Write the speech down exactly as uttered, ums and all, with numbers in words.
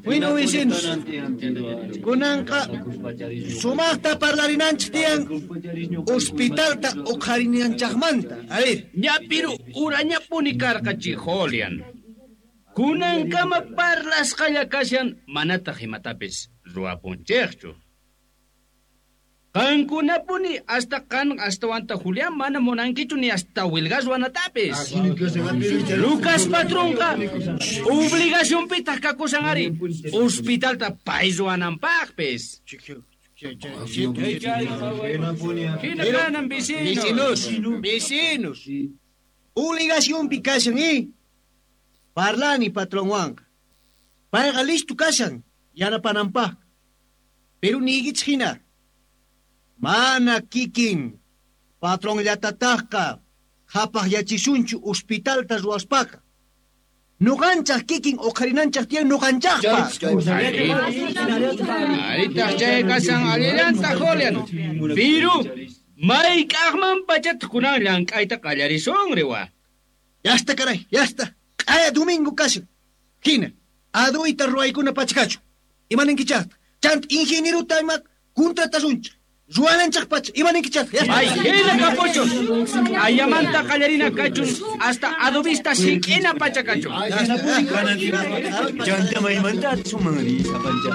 Bueno, vecinos, kunanqa sumaqta parlarinanchik tiyan hospitalta uqharinanchikmanta. A ver. Ñapiru urañapuni karqa Julian. Kunankama parlasqalla kashan manataq imatapis ruwapunchikchu. Qankunapuni hasta qan hastawanta Julián mana munankichu ni hasta wilgas ruwanatapis. Lucas patronqa obligacionpitaq kakusan ari hospitalta pay ruwananpaqpis. Hina kanan vecinos. Vecinos, vecinos. Obligacionpi kashan, eh? Parlani patronwanqa. Payqa listo kashan yanapananpaq. Pero niykichik hina. Mana kikin patronllatataqqa qhapaqyachisunchu hospitalta ruwaspaqa. Nuqanchaq kikin uqharinanchaq tiyan nuqanchaqpaq. Aritaq chay kashan allillantaq Julian. Piru mayk'aqman pachataq kunan llank'ayta qallarisunri wa. Ya está, caray, ya está. Q'aya domingo kashan. Hina, aduyta ruwaykuna pachakachu. Imaninkichaqta. Chant ingenieruta ima contratasunchik. Ruwananchaq pacha, imaninkichaqta. Ya está. Ay, hina kapuchun. Ayamanta qallarina kachun hasta adobista sik'ina pacha kachun. Ya está. Chanta maymanta sumanri sapancha.